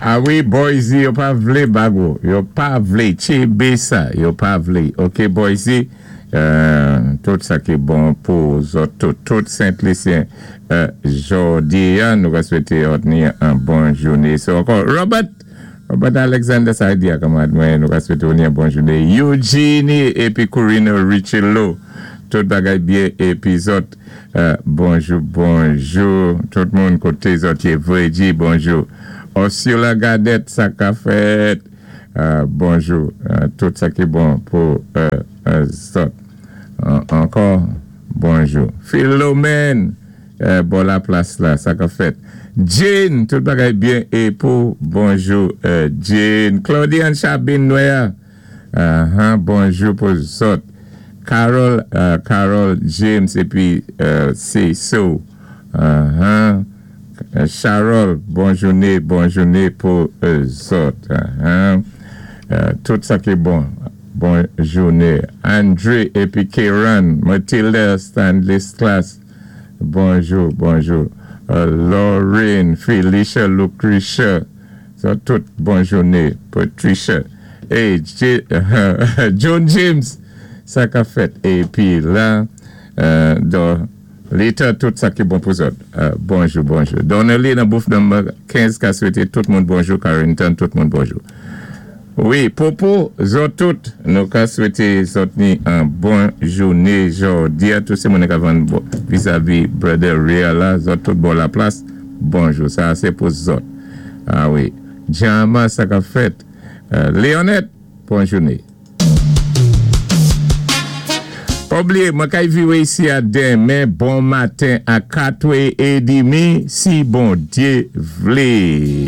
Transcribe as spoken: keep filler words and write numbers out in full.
A wi, Boise, yo pa vlé bag ou. Yo pa vlé. Tchénbé sa, yo pa vlé. OK, Boise, euh, tout sa ki bon pou zòt, tout, tout Sent-Lisyen. Euh, jòdi an, nou ka swété zòt ni an bon jouné. So, ankò, Robert, Robert Alexander sa di a kanmad mwen, nou ka swété ni an bon jouné. Eugenie épi Corina Richello, tout bagay byen épi zòt, euh, bonjou, bonjou, tout moun koté zòt yé vwé di bonjou. Osula Gadet, sa ka fèt. Euh, bonjou, euh, tout sa ki bon pou euh, euh, zòt. An- Ankò, bonjou. Philomène, euh, bon la plas la, sa ka fèt. Jane, tout bagay byen é pou bonjou. Euh, Jane, Claudiane Chabin Noya, uh, bonjou pou zòt. Carol, euh, Carol James épi euh, Céso. Uh-huh. Euh, Charol, bon jouné, bon jouné pou euh, zòt. Uh-huh. Euh, tout sa ki bon, bon jouné. André épi Kéran, Mathilde Stanley Class, bonjou, bonjou. Euh, Lorraine, Felicia, Lucretia, so, tout bon jouné. Patricia, hey, J- John James, sa ka fèt. Épi la, euh, don, Leta, tout sa ki bon pou zòt. Euh, bonjou, bonjou. Donnelly nan booth number kenz ka swété tout moun bonjou. Carrington, tout moun bonjou. Wi, Popo, zòt tout, nou ka swété zòt ni an bon jouné jòdi a tout sé moun ka vann bo- vizavi Brother Real la, zòt tout bon la plas, bonjou, sa sé pou zòt. A wi. Jama, sa ka fèt. Euh, Léonette, bon jouné. Pa blié, mwen kay viwé isi a denmen, bon maten a katwè é demi, si Bondyé vlé.